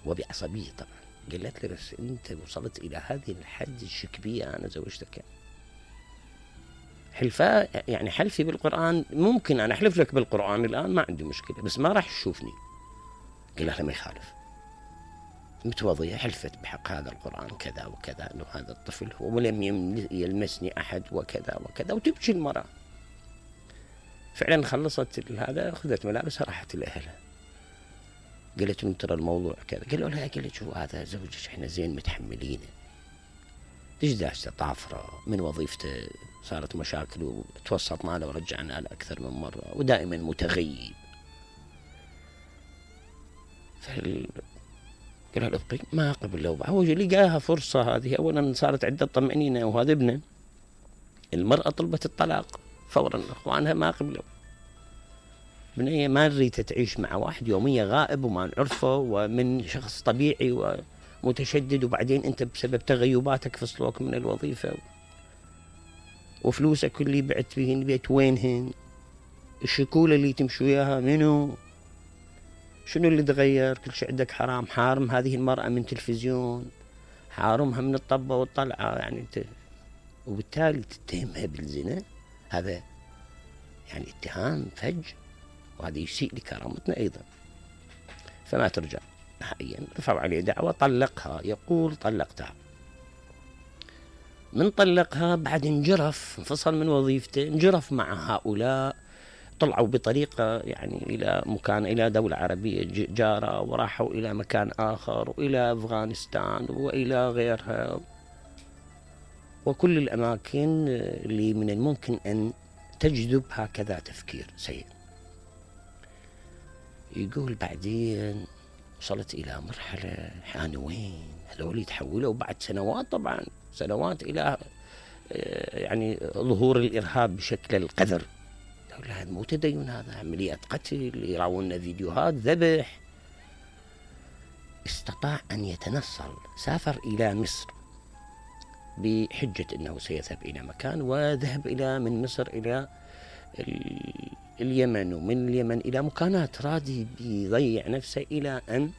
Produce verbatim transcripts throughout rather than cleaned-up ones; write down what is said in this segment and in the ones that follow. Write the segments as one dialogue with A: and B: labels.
A: وبعصبية طبعا. قالت لي بس أنت وصلت إلى هذه الحد الشك بي أنا زوجتك؟ حلفاء يعني حلفي بالقرآن، ممكن أنا أحلف لك بالقرآن الآن ما عندي مشكلة، بس ما راح تشوفني. قال لها ما يخالف، متوضية حلفت بحق هذا القرآن كذا وكذا أنه هذا الطفل ولم يلمسني أحد وكذا وكذا، وتبكي المرأة. فعلا خلصت هذا، أخذت ملابسها راحت لأهلها. قالت له ترى الموضوع كذا. قالوا لها قالت شو هذا زوجك احنا زين متحملينه، دشداشته طافرة من وظيفته، صارت مشاكل وتوسط معنا ورجعنا له أكثر من مرة، ودائما متغيب. فال قال لها ابقي ما قبل له. هو لقاها فرصة هذه، أولا صارت عدة طمأنينة وهذا ابنه. المرأة طلبت الطلاق فورا، أخوانها ما قبلوا. بنية ما نريد تعيش مع واحد يومية غائب وما نعرفه، ومن شخص طبيعي ومتشدد، وبعدين أنت بسبب تغيباتك فصلوك من الوظيفة، وفلوسك اللي بعت فيهن بيت وينهن، الشكولة اللي تمشي وياها منو، شنو اللي تغير؟ كل شيء عندك حرام. حارم هذه المرأة من تلفزيون، حارمها من الطبة والطلعة يعني انت، وبالتالي تتهمها بالزنا. هذا يعني اتهام فج، وهذا يسيء لكرامتنا أيضا. فما ترجع نهائيا، رفعوا عليه دعوة، طلقها. يقول طلقتها، من طلقها بعد انجرف، انفصل من وظيفته، انجرف مع هؤلاء، طلعوا بطريقة يعني إلى مكان، إلى دولة عربية جارة، وراحوا إلى مكان آخر، وإلى أفغانستان وإلى غيرها، وكل الأماكن اللي من الممكن أن تجذب هكذا تفكير سيء. يقول بعدين وصلت إلى مرحلة حانوين، هذول يتحولوا بعد سنوات، طبعا سنوات، إلى يعني ظهور الإرهاب بشكل القذر. هذا مو تدين، هذا عمليات قتل، يراونا فيديوهات ذبح. استطاع أن يتنصل، سافر إلى مصر بحجة أنه سيذهب إلى مكان، وذهب إلى من مصر إلى اليمن، ومن اليمن إلى مكانات، رادي بيضيع نفسه، إلى أن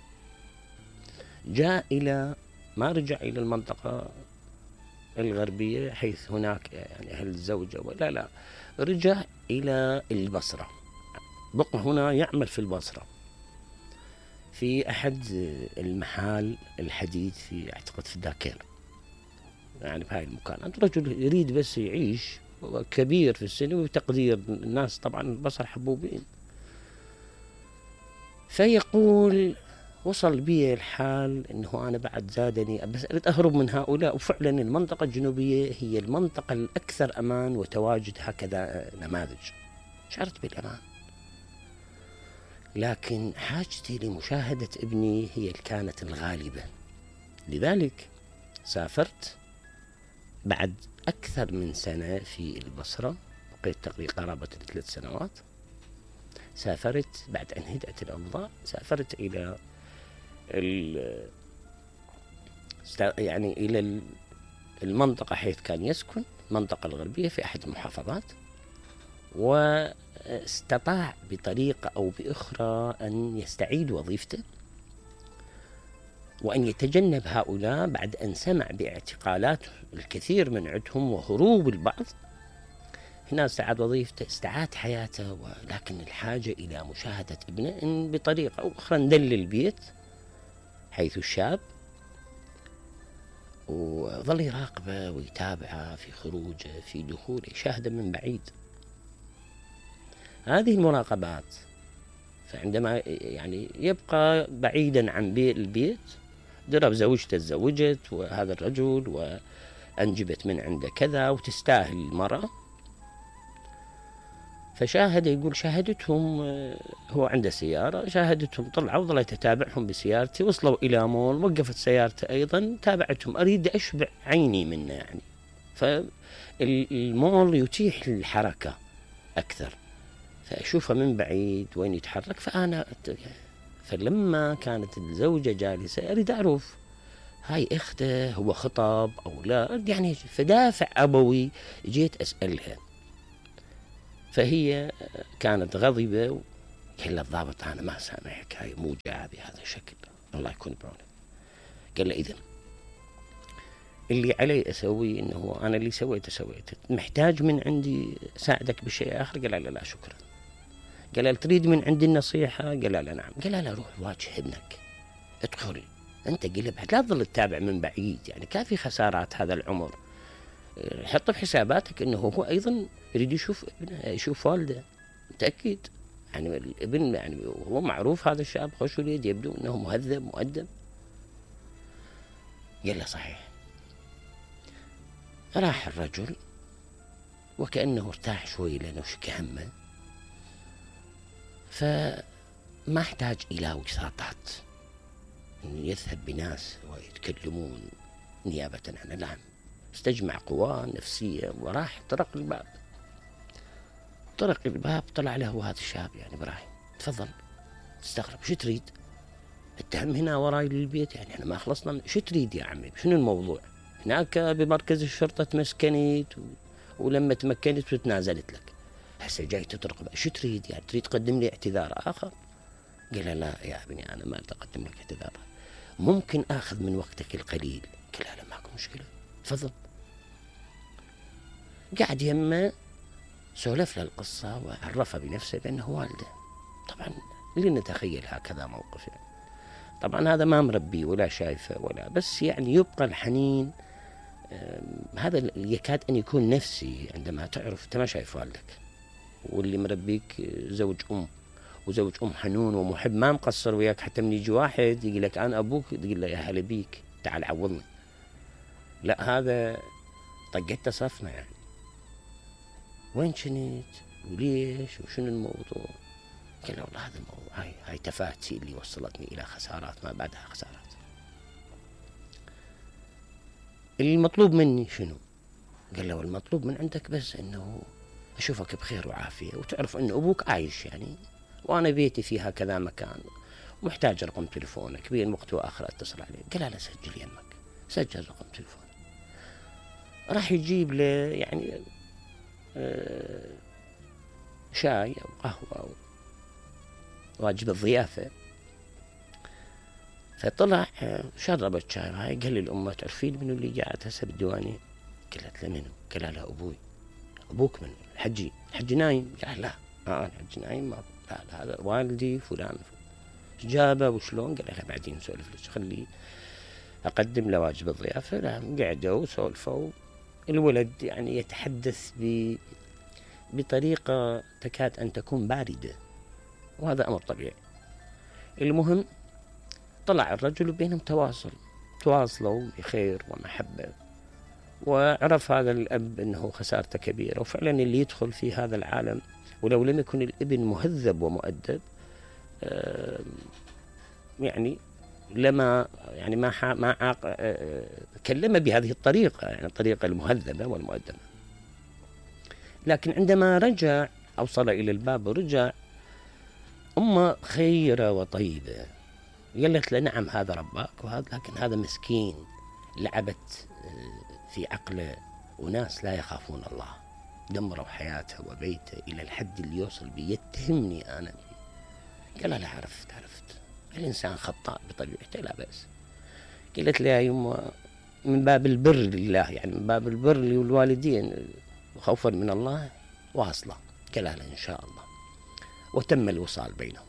A: جاء إلى ما رجع إلى المنطقة الغربية حيث هناك يعني أهل الزوجة، ولا لا، رجع إلى البصرة. بقى هنا يعمل في البصرة في أحد المحال الحديد، في أعتقد في داكير، يعني بهاي المكانات. رجل يريد بس يعيش، كبير في السن وتقدير الناس، طبعا البصر حبوبين. فيقول وصل بي الحال أنه أنا بعد زادني، بس أريد أهرب من هؤلاء. وفعلا المنطقة الجنوبية هي المنطقة الأكثر أمان وتواجد هكذا نماذج، شعرت بالأمان. لكن حاجتي لمشاهدة ابني هي اللي كانت الغالبة، لذلك سافرت بعد أكثر من سنة في البصرة، بقيت تقريبا قرابة ثلاث سنوات. سافرت بعد أن هدأت الأوضاع، سافرت إلى يعني إلى المنطقة حيث كان يسكن، المنطقة الغربية في أحد المحافظات، واستطاع بطريقة أو بأخرى أن يستعيد وظيفته، وأن يتجنب هؤلاء بعد أن سمع باعتقالات الكثير من عندهم وهروب البعض. هنا استعاد وظيفته، استعاد حياته، ولكن الحاجة إلى مشاهدة ابنه إن بطريقة أو أخرى ندل البيت حيث الشاب، وظل يراقبه ويتابعه في خروجه في دخوله، يشاهده من بعيد. هذه المراقبات، فعندما يعني يبقى بعيدا عن البيت، درب زوجته تزوجت وهذا الرجل وأنجبت من عنده كذا وتستاهل المرأة. فشاهد، يقول شاهدتهم، هو عنده سيارة، شاهدتهم طلعوا، ظليت أتابعهم بسيارتي، وصلوا إلى مول، وقفت سيارته أيضا، تابعتهم، أريد أشبع عيني منه يعني. فالمول يتيح الحركة أكثر، فأشوفه من بعيد وين يتحرك. فأنا فلما كانت الزوجة جالسة أريد أعرف هاي أخته هو خطب أو لا، يعني فدافع أبوي جيت أسألها. فهي كانت غضبة، قال الضابط أنا ما سامحك، هاي مو جاء بهذا الشكل. الله يكون بعونك. قال له إذن اللي علي أسويه إنه أنا اللي سويته سويته، محتاج من عندي ساعدك بشيء آخر؟ قال له لا شكرا. قال له تريد من عندي النصيحة؟ قال له نعم. قال له روح واجه ابنك، ادخل أنت قلب، لا تظل تتابع من بعيد، يعني كافي خسارات هذا العمر. حط في حساباتك إنه هو أيضا يريد يشوف ابنه، يشوف والده، متأكد يعني الابن يعني هو معروف هذا الشاب خوش وليد، يبدو أنه مهذب مؤدب. قال له صحيح. راح الرجل وكأنه ارتاح شوي لأنه شك همه، فما احتاج إلى وساطات يذهب بناس ويتكلمون نيابة عنه، لا، استجمع قواه نفسية وراح طرق الباب. طرق الباب طلع له هذا الشاب، يعني إبراهيم تفضل. استغرب، شو تريد؟ التهم هنا وراي للبيت، يعني احنا ما خلصنا من... شو تريد يا عمي؟ شنو الموضوع؟ هناك بمركز الشرطة تمسكنت و... ولما تمكنت وتنازلت لك، هسه جاي تطرق، شو تريد؟ يعني تريد تقدم لي اعتذار آخر؟ قال لا يا ابني أنا ما أقدم لك اعتذار، ممكن آخذ من وقتك القليل؟ قال لا ماكو مشكلة تفضل. قاعد يمه سولف له القصة وعرفه بنفسه بأنه والده. طبعا لنتخيل هكذا موقف، يعني طبعا هذا ما مربي ولا شايفه ولا، بس يعني يبقى الحنين. هذا يكاد أن يكون نفسي عندما تعرف أنت ما شايف والدك، واللي مربيك زوج أم، وزوج أم حنون ومحب ما مقصر وياك، حتى من يجي واحد يقول لك أنا أبوك تقول له يا هلا بيك تعال عوضني. لا هذا طقته صفمة، يعني وين كنت وليش وشنو الموضوع؟ قال له والله هذا الموضوع، هاي هاي تفاتي اللي وصلتني إلى خسارات ما بعدها خسارات. المطلوب مني شنو؟ قال له المطلوب من عندك بس إنه أشوفك بخير وعافية، وتعرف إن أبوك عايش يعني، وأنا بيتي فيها كذا مكان، ومحتاج رقم تليفونك بين وقت وآخر أتصل عليه. قال لا سجل يمك، سجل رقم تليفون. راح يجيب له يعني آه شاي أو قهوة أو واجب الضيافة. فطلع شرب الشاي هاي، قال لي الأمة تعرفين منو اللي قاعد هسه بالديوانية؟ قالت له منو؟ قال له أبوي. أبوك من الحجي؟ الحجي نايم؟ قال لا آه الحجي نايم، ما لا لا هذا والدي فلان. جابه وشلون؟ قال له بعدين نسولف لك، خليه أقدم له واجب الضيافة. لا قعدوا وسولفوا. الولد يعني يتحدث ب بطريقة تكاد أن تكون باردة، وهذا أمر طبيعي. المهم طلع الرجل وبينهم تواصل، تواصلوا بخير ومحبة، وعرف هذا الأب أنه خسارته كبيرة، وفعلا اللي يدخل في هذا العالم ولو لم يكن الابن مهذب ومؤدب يعني لما يعني ما ما عاق كلمه بهذه الطريقة، يعني الطريقة المهذبة والمؤدبة. لكن عندما رجع أوصل إلى الباب ورجع، أمه خيرة وطيبة قالت له نعم هذا رباك وهذا، لكن هذا مسكين لعبت في عقله وناس لا يخافون الله، دمروا حياته وبيته إلى الحد اللي يوصل بي يتهمني أنا. قال لا عرفت عرفت الإنسان خطاء بطبيعته لا بأس. قالت لي يا يمه من باب البر لله، يعني من باب البر للوالدين خوفا من الله واصلة. قال لا إن شاء الله، وتم الوصال بينهم.